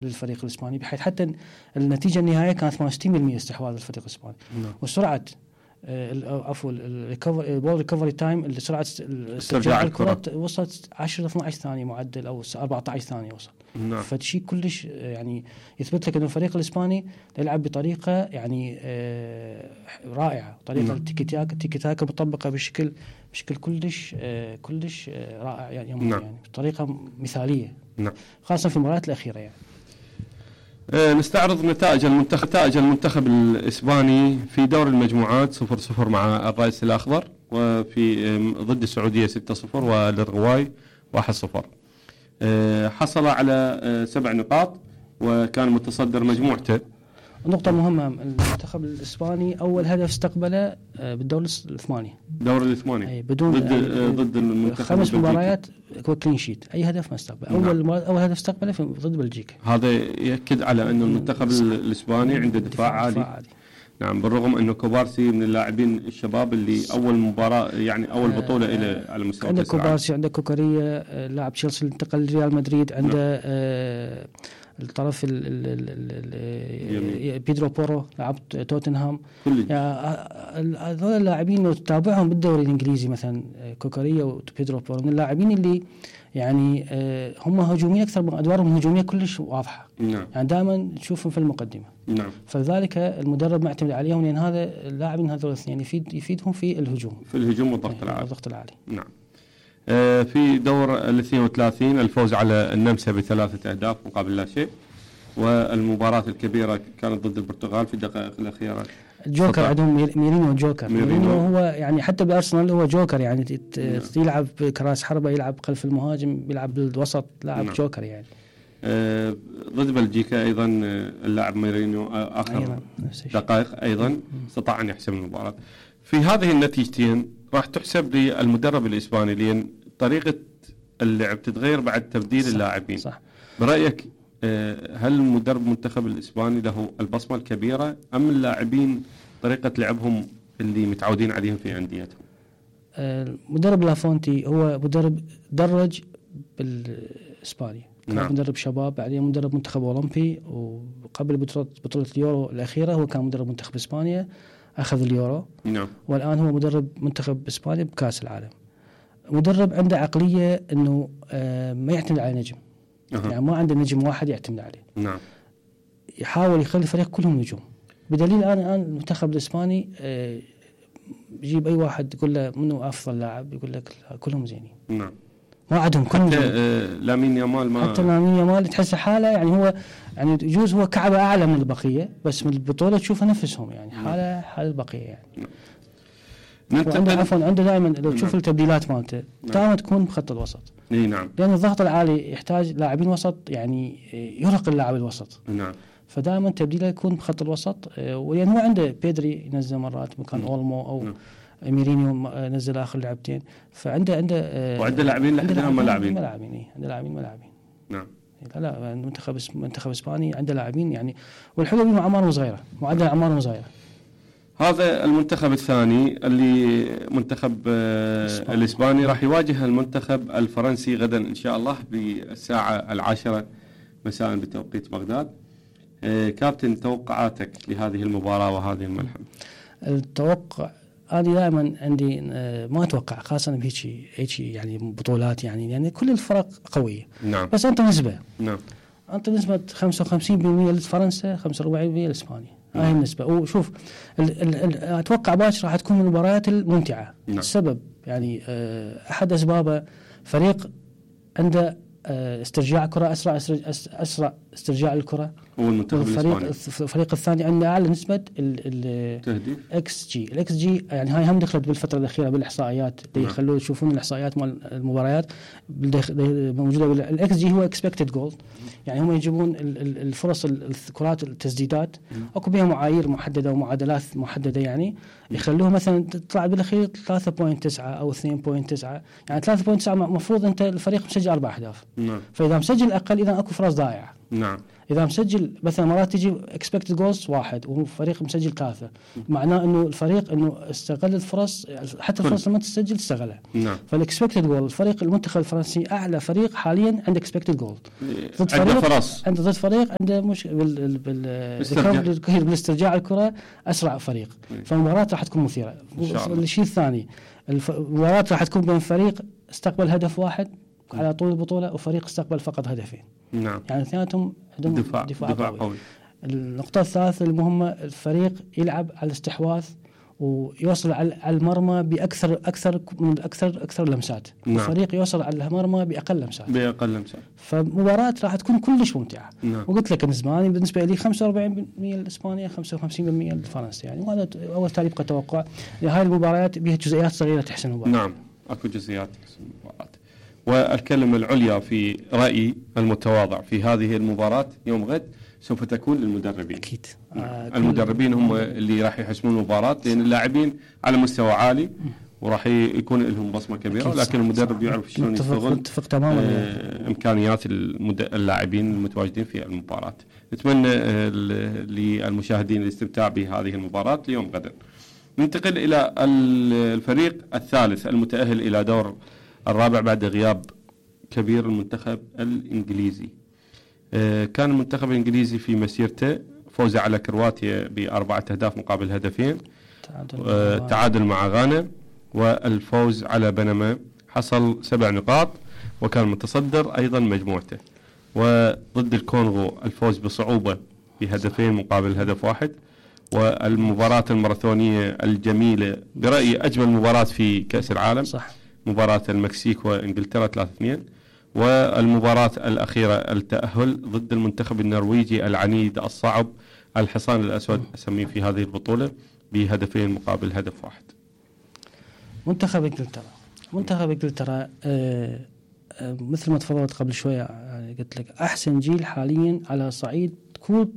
للفريق الإسباني، بحيث حتى النتيجة النهائية كانت 68% استحواذ الفريق الإسباني. وسرعة عفوا البول ريكفري تايم، سرعة استرجاع الكرة وصلت 10-12 ثانية معدل، أو 14 ثانية وصل. فشيء كلش يعني يثبت لك أن الفريق الإسباني يلعب بطريقة يعني رائعة، طريقة التيكي تاكا مطبقة بشكل كلش رائع يعني بطريقة مثالية، خاصة في المباريات الأخيرة يعني. نستعرض نتائج المنتخب الإسباني في دور المجموعات 0-0 مع الرئيس الأخضر، وفي ضد السعودية 6-0 والأورغواي 1-0. حصل على 7 نقاط وكان متصدر مجموعته. نقطة مهمة، المنتخب الإسباني أول هدف استقبله بالدور الثمانية. دور الثمانية بدون ضد المنتخب 5 مباريات كلين شيت، أي هدف ما استقبل. أول هدف استقبله ضد بلجيكا. هذا يأكد على أن المنتخب الإسباني عنده دفاع عالي. نعم، بالرغم أنه كوبارسي من اللاعبين الشباب اللي أول مباراة يعني أول بطولة إلى على مستوى عندك كوبارسي، عندك كوكاريا لاعب تشيلسي انتقل لريال مدريد، عنده الطرف بيدرو بورو لاعب توتنهام. هذول اللاعبين لو تتابعهم بالدوري الإنجليزي مثلا كوكاريا وبيدرو بورو من اللاعبين اللي يعني هم هجوميين أكثر من أدوارهم هجومية كلش واضحة. يعني دائما تشوفهم في المقدمة. فلذلك المدرب معتمد عليهم، لأن هذا اللاعبين هذول الاثنين يفيدهم في الهجوم والضغط العالي. نعم. في دور 32 الفوز على النمسا ب3 أهداف مقابل لا شيء، والمباراة الكبيرة كانت ضد البرتغال في الدقائق الأخيرة. جوكر عندهم ميرينيو جوكر. ميرينيو هو يعني حتى بأرسنال هو جوكر، يعني يلعب كراس حربة، يلعب خلف المهاجم، يلعب بالوسط، لاعب جوكر يعني. ضد بلجيكا أيضا اللاعب ميرينيو آخر دقائق أيضا استطاع أن يحسم المباراة. في هذه النتيجتين راح تحسب للمدرب الإسباني، لأن طريقة اللعب تتغير بعد تبديل اللاعبين. صح. برأيك هل مدرب المنتخب الإسباني له البصمة الكبيرة، أم اللاعبين طريقة لعبهم اللي متعودين عليهم في أنديتهم؟ مدرب لافونتي هو مدرب درج بالإسبانيا، كان مدرب شباب، بعدين مدرب منتخب أولمبي، وقبل بطولة اليورو الأخيرة هو كان مدرب منتخب إسبانيا أخذ اليورو. والآن هو مدرب منتخب إسبانيا بكأس العالم. مدرب عنده عقلية إنه ما يعتمد على نجم. يعني ما عنده نجم واحد يعتمد عليه. يحاول يخلي الفريق كلهم نجوم، بدليل الآن المنتخب الإسباني يجيب أي واحد يقول له منو أفضل لاعب، يقول لك كلهم زينين. ما عندهم كلهم. لامين يامال تحس حاله يعني هو يعني يجوز هو كعبة أعلى من البقية، بس من البطولة تشوفها نفسهم يعني حال البقية يعني. عنده دائما لو تشوف التبديلات مالته دائما تكون بخط الوسط. نعم. لأن الضغط العالي يحتاج لاعبين وسط يعني يرهق اللاعب الوسط. نعم. فدائما تبديله يكون بخط الوسط، ولأن هو عنده بيدري ينزل مرات مكان أولمو أو ميرينيو نزل آخر لعبتين، فعنده وعنده لاعبين لحدنا ملاعبين. عنده لاعبين ملاعبين. نعم. لا منتخب إسباني عنده لاعبين يعني، والحلو إنه أعمارهم صغيرة، معدل أعمارهم صغيرة. هذا المنتخب الثاني اللي منتخب الإسباني راح يواجه المنتخب الفرنسي غدا إن شاء الله بالساعة 10 مساء بتوقيت بغداد. كابتن، توقعاتك لهذه المباراة وهذه الملحمة؟ التوقع أنا دائما عندي ما أتوقع، خاصة بهيك يعني بطولات يعني كل الفرق قوية. نعم. بس أنت نسبة. نعم. أنت نسبة 55% لفرنسا، 45% لإسبانيا. هاي النسبة. وشوف أتوقع باكر راح تكون من المباريات الممتعة. نعم. السبب يعني أحد أسبابه فريق عنده استرجاع كرة أسرع استرجاع الكرة، الفريق الثاني عنده أعلى نسبة الإكس جي يعني هاي هم دخلت بالفترة الأخيرة بالإحصائيات اللي يخلوا يشوفون الإحصائيات مال المباريات موجودة. الإكس جي هو expected goal، يعني هم يجيبون الفرص الكرات التسديدات أكو بها معايير محددة ومعادلات محددة، يعني يخلوها مثلا تطلع بالأخير 3.9 أو 2.9، يعني 3.9 مفروض أنت الفريق مسجل 4 أهداف. نعم. فإذا مسجل أقل إذا أكو فرص ضائعة. نعم. اذا مسجل مثلا مرات تجي اكسبكتد جولز 1 وفريق مسجل 3 معناه انه الفريق انه استغل الفرص حتى الفرص لما تسجل استغلها. نعم. فالاكسبكتد جول الفريق المنتخب الفرنسي اعلى فريق حاليا عنده اكسبكتد جول ضد فريق ضد فريق عنده بالاسترجاع الكره اسرع فريق. فالمباراه راح تكون مثيره. الشيء الثاني المباراه راح تكون بين فريق استقبل هدف واحد على طول البطوله وفريق استقبل فقط هدفين. نعم. يعني اثنيناتهم عندهم دفاع قوي. النقطه الثالثه المهمه الفريق يلعب على الاستحواذ ويوصل على المرمى باكثر لمسات. نعم. الفريق يوصل على المرمى باقل لمسات. فمباراة راح تكون كلش ممتعه. نعم. وقلت لك الاسباني بالنسبه لي 45% الاسبانيه 55% الفرنسي يعني وهذا اول تالي يبقى توقع. هاي المباريات بها جزئيات صغيره تحسن المباراه. نعم اكو جزئيات تحسن المباراه. والكلمه العليا في رايي المتواضع في هذه المباراه يوم غد سوف تكون للمدربين. اكيد. المدربين هم اللي راح يحسمون المباراه لان اللاعبين على مستوى عالي وراح يكون لهم بصمه كبيره ولكن المدرب يعرف شلون يستغل امكانيات اللاعبين المتواجدين في المباراه. نتمنى للمشاهدين الاستمتاع بهذه المباراه اليوم غدا. ننتقل الى الفريق الثالث المتاهل الى دور الرابع بعد غياب كبير المنتخب الانجليزي. كان المنتخب الانجليزي في مسيرته فوزه على كرواتيا ب4 أهداف مقابل هدفين، تعادل مع غانا، والفوز على بنما حصل 7 نقاط وكان متصدر ايضا مجموعته. وضد الكونغو الفوز بصعوبه بهدفين مقابل هدف واحد. والمباراة الماراثونية الجميلة برأيي أجمل مباراة في كأس العالم صح. مباراة المكسيك وإنجلترا 3-2. والمباراة الأخيرة التأهل ضد المنتخب النرويجي العنيد الصعب الحصان الأسود أسميه في هذه البطولة بهدفين مقابل هدف واحد. منتخب إنجلترا مثل ما تفضلت قبل شوية يعني قلت لك أحسن جيل حاليا على صعيد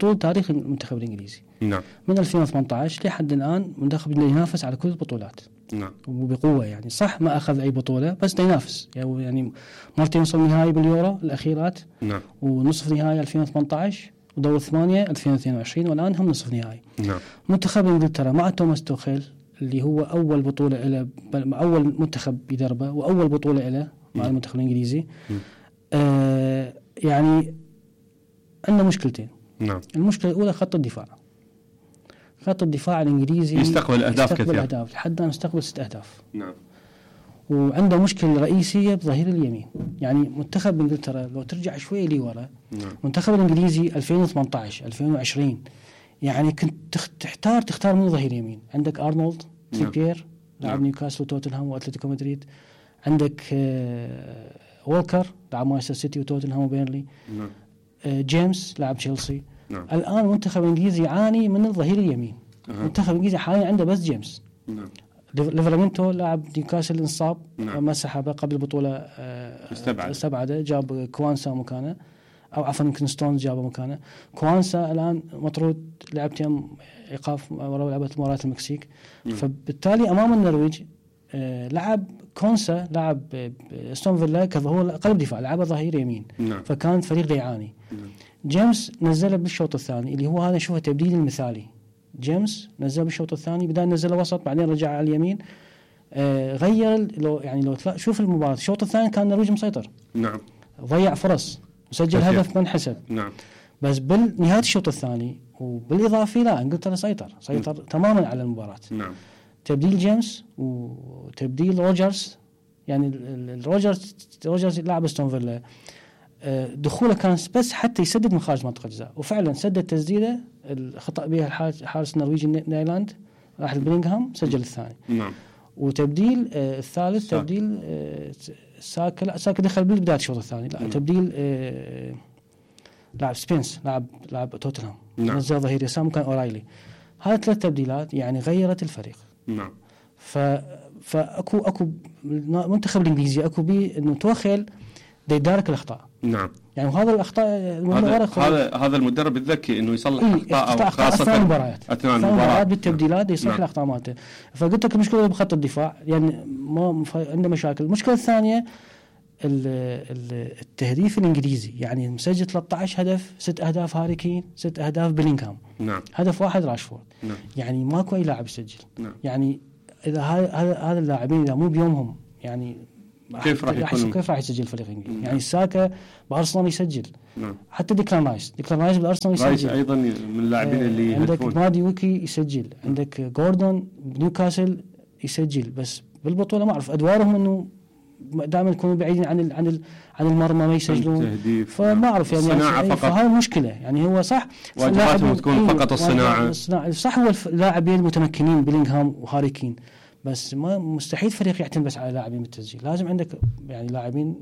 طول تاريخ المنتخب الإنجليزي. نعم. من 2018 لحد الآن منتخب ينافس على كل البطولات. نعم. وبقوة يعني صح ما أخذ أي بطولة بس ينافس يعني مرتين وصل نهائي باليورو الأخيرات. نعم. ونصف نهائي 2018 ودور 8 2022 والآن هم نصف نهائي. نعم. منتخب إنجلترا مع توماس توخيل اللي هو أول بطولة له أول منتخب يدربه وأول بطولة له مع المنتخب الإنجليزي. يعني عندنا مشكلتين. نعم. المشكلة الأولى خط الدفاع الإنجليزي يستقبل أهداف كثيرة لحد الآن يستقبل 6 أهداف. نعم. وعنده مشكلة رئيسية بظهير اليمين. يعني منتخب إنجلترا لو ترجع شوي لي ورا. نعم. منتخب الإنجليزي 2018 2020 يعني كنت تختار من ظهير يمين. عندك أرنولد تريبير لاعب نيوكاسل وتوتنهام وأتلتيكو مدريد. عندك وولكر لاعب مانشستر سيتي وتوتنهام وبيرلي. نعم. جيمس لاعب تشيلسي. نعم. الآن المنتخب الإنجليزي يعاني من الظهير اليمين. المنتخب الإنجليزي حاليا عنده بس جيمس. نعم. ليفرامينتو لاعب نيوكاسل انصاب. نعم. ما سحبه قبل البطولة استبعده جاب كوانسا مكانه أو عفوا يمكن ستونز جابه مكانه. كوانسا الآن مطرود لعبتين إيقاف ورا لعبة مباراة المكسيك. فبالتالي أمام النرويج لعب كونسا لاعب ستون فيلا كظهور قلب دفاع لعبه ظهير يمين. نعم. فكان فريق يعاني. جيمس نزله بالشوط الثاني اللي هو هذا شوفه تبديل المثالي. جيمس نزله بالشوط الثاني بدأ نزله وسط بعدين رجع على اليمين. غير لو شوف المباراة الشوط الثاني كان النرويج مسيطر. نعم. ضيع فرص وسجل هدف من حسب. نعم. بس بالنهاية الشوط الثاني وبالإضافة لا انجلترا سيطر تماما على المباراة. نعم. تبديل جيمس وتبديل روجرز يعني روجرز لاعب استون فيلا دخوله كان بس حتى يسدد من خارج منطقة الجزاء وفعلا سدد تسديده الخطأ بها الحارس النرويجي نايلاند راح البرينغهام سجل الثاني. نعم. وتبديل الثالث تبديل ساكا دخل بالبداية الشوط الثاني لا تبديل لاعب سبينس لاعب توتنهام نزل ظهير يسار مكان أورايلي. هذه 3 تبديلات يعني غيرت الفريق. نعم. منتخب الانجليزي اكو بي انه توخيل يدارك الاخطاء. نعم. يعني وهذا الاخطاء هذا المدرب الذكي انه يصلح اخطاء خاصه اثناء المباريات بالتبديلات يصلح نعم. الاخطاء مالته. فقلت لك المشكله بخط الدفاع يعني ما عنده مشاكل. المشكله الثانيه التهديف الانجليزي، يعني مسجل 13 هدف، 6 اهداف هاري كين، 6 اهداف بيلينغهام، نعم. هدف واحد راشفورد. نعم. يعني ماكو اي لاعب يسجل. نعم. يعني اذا هذا اللاعبين اذا مو بيومهم يعني كيف راح يسجل فريق انجليزي؟ يعني ساكا بارسنال يسجل. نعم. حتى ديكلان رايس بالارسنال يسجل. رايس ايضا من اللاعبين اللي عندك مادي ويكي يسجل، عندك جوردون بنيوكاسل يسجل، بس بالبطوله ما اعرف ادوارهم انه دائما يكونوا بعيدين عن المرمى ما يسجلون، فما اعرف يعني فهاي مشكله. يعني هو صح واجباتهم تكون فقط الصناعه، صح هو اللاعبين المتمكنين بيلينغهام وهاري كين، بس ما مستحيل فريق يعتمد بس على لاعبين بالتسجيل، لازم عندك يعني لاعبين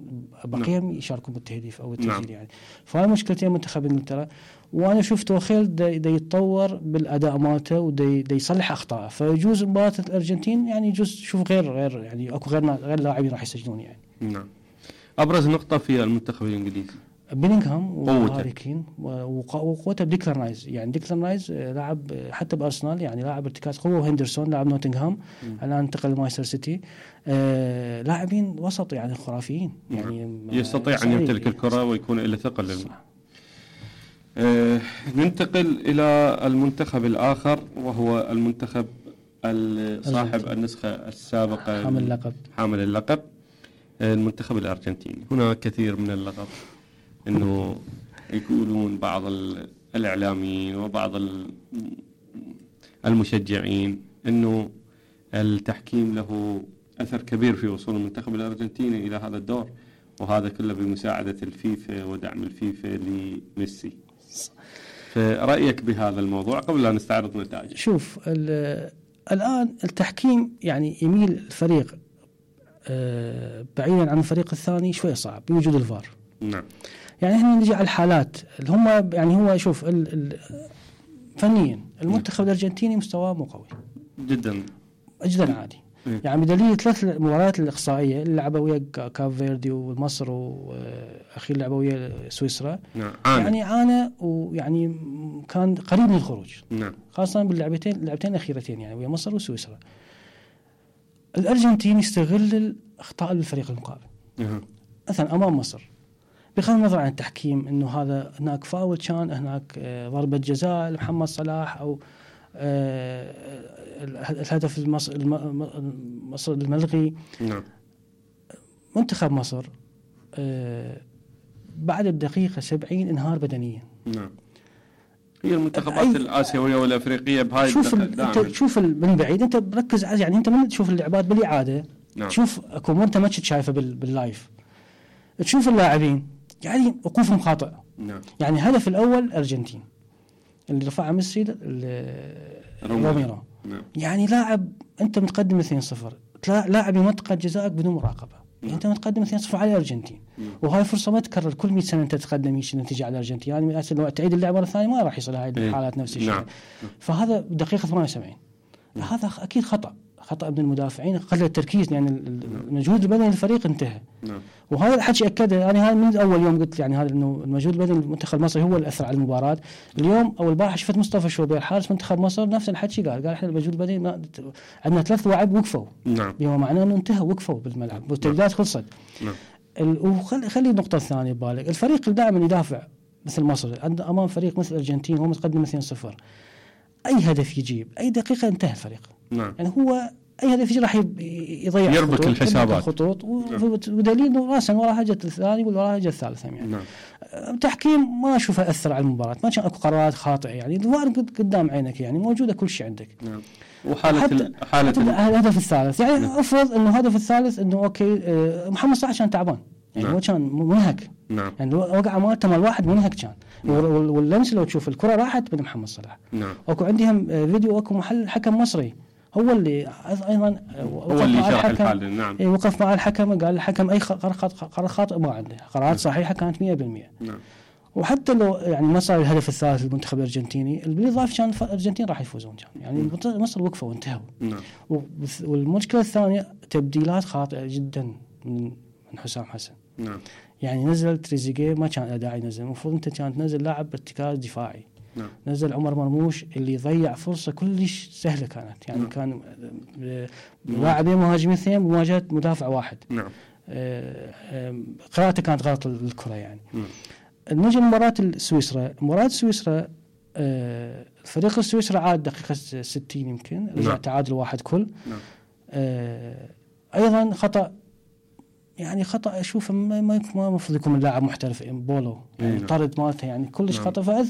بقيهم يشاركون بالتهديف او التسجيل. يعني فهاي مشكلتين منتخب انجلترا. وانا شوف توخيل دا يتطور بالاداء مالته ودا يصلح اخطائه، فيجوز مباراه الارجنتين يعني يجوز شوف غير يعني اكو غير لاعبين راح يسجلون يعني. نعم. ابرز نقطه في المنتخب الانجليزي بيلينغهام وهاري كين وقوته بديكلان رايس. يعني ديكلان رايس لاعب حتى بارسنال يعني لاعب ارتكاز قوه، وهندرسون لاعب نوتنغهام الان انتقل لمانشستر سيتي، لاعبين وسط يعني خرافيين. يعني يستطيع ان يمتلك الكره ويكون له ثقل. ننتقل إلى المنتخب الآخر وهو المنتخب صاحب النسخة السابقة حامل اللقب المنتخب الأرجنتيني. هنا كثير من اللغط، أنه يقولون بعض الإعلاميين وبعض المشجعين أنه التحكيم له أثر كبير في وصول المنتخب الأرجنتيني إلى هذا الدور، وهذا كله بمساعدة الفيفا ودعم الفيفا لميسي. فرأيك بهذا الموضوع قبل لا نستعرض نتائج؟ شوف الآن التحكيم يعني يميل الفريق بعيدا عن الفريق الثاني شوية صعب بوجود الفار. نعم. يعني احنا نجي على الحالات اللي هم يعني هو شوف فنيا المنتخب الأرجنتيني مستواه مو قوي جدا عادي. يعني بدليل 3 مباريات الإقصائية اللي لعبوا ويا كاب فيردي ومصر، وأخير لعبوا ويا سويسرا. نعم. يعني عانى ويعني كان قريب من الخروج. نعم. خاصة باللعبتين الأخيرتين يعني ويا مصر وسويسرا. الأرجنتين يستغل الأخطاء للفريق المقابل. مثلا أمام مصر بغض النظر عن التحكيم انه هذا هناك فاول، كان هناك ضربة جزاء لمحمد صلاح او الهدف مصر الملغي. نعم. منتخب مصر بعد الدقيقة 70 انهار بدنيا. نعم. هي المنتخبات الآسيوية والأفريقية بهاي شوف من بعيد انت بركز يعني انت من تشوف اللعبات بالإعادة. نعم. تشوف اكو انت ما شايفه باللايف، تشوف اللاعبين يعني وقوفهم خاطئ. نعم. يعني الهدف الأول أرجنتين اللي رفعه ميسي روميرو. نعم. يعني لاعب أنت متقدم 2-0 لاعب يمنطقة جزائك بدون مراقبة. يعني أنت متقدم 2-0 على الأرجنتين. وهاي فرصة ما تكرر كل 100 سنة أنت تتقدم يشي النتيجة على الأرجنتين. يعني من الأساس لو تعيد اللعبة مرة ثانية ما راح يصل هاي الحالات نفس الشيء. نعم. فهذا دقيقة 78. هذا أكيد خطأ من المدافعين، قلة التركيز، يعني المجهود البدني للفريق انتهى. نعم. وهذا الحكي أكده يعني هذا من أول يوم قلت يعني هذا إنه المجهود البدني للمنتخب المصري هو اللي أثر على المباراة. اليوم أو البارحة شفت مصطفى شوبير حارس منتخب مصر نفس الحكي قال إحنا المجهود البدني عندنا 3 لاعب وقفوا. نعم. بما معناه إنه انتهى وقفوا بالملعب والتبديلات خلصت. نعم. وخلي النقطة الثانية ببالك، الفريق اللي دائما يدافع مثل مصر أمام فريق مثل الأرجنتين وهو متقدم 2-0 أي هدف يجيب أي دقيقة انتهى الفريق. نعم. يعني هو أي هدف يجي راح يضيع يربك الحسابات خطوط ودليل إنه راسا وراها جت الثاني وراها جت الثالثة. يعني نعم. التحكيم ما أشوفه أثر على المباراة، ما كان أكو قرارات خاطئة، يعني الفار قدام عينك يعني موجودة كل شيء عندك. نعم. وحالة الهدف الثالث يعني نعم. أفرض إنه الهدف الثالث إنه أوكي محمد صلاح كان تعبان يعني نعم. هو كان منهك. نعم. يعني وقع مالته مال واحد منهك كان. نعم. واللمس لو تشوف الكرة راحت من محمد صلاح. نعم. أكو عندهم فيديو أكو محل حكم مصري هو اللي أيضا هو اللي شرح الحالة. نعم. وقف مع الحكم قال الحكم أي قرار خاطئ ما عنده، قرارات صحيحة كانت 100%. نعم. وحتى لو يعني ما صار الهدف الثالث للمنتخب الأرجنتيني بالإضافة كان الأرجنتين راح يفوزون كان يعني مصر وقفوا وانتهوا. نعم. والمشكلة الثانية تبديلات خاطئة جدا من حسام حسن. نعم. يعني نزل تريزيجيه ما كان داعي ينزل، المفروض أنت كانت تنزل لاعب ارتكاز دفاعي. نعم. نزل عمر مرموش اللي ضيع فرصة كلش سهلة كانت يعني. نعم. كان لاعبين مهاجمين 2 بمواجهة مدافع واحد. نعم. قراءته كانت غلط للكرة يعني. نجي لمباراة سويسرا الفريق السويسري عاد دقيقة 60 يمكن رجع تعادل 1 كل. أيضا خطأ يعني خطأ أشوفه ما المفروض يكون من لاعب محترف بولو يعني طرد مالته يعني كلش خطأ.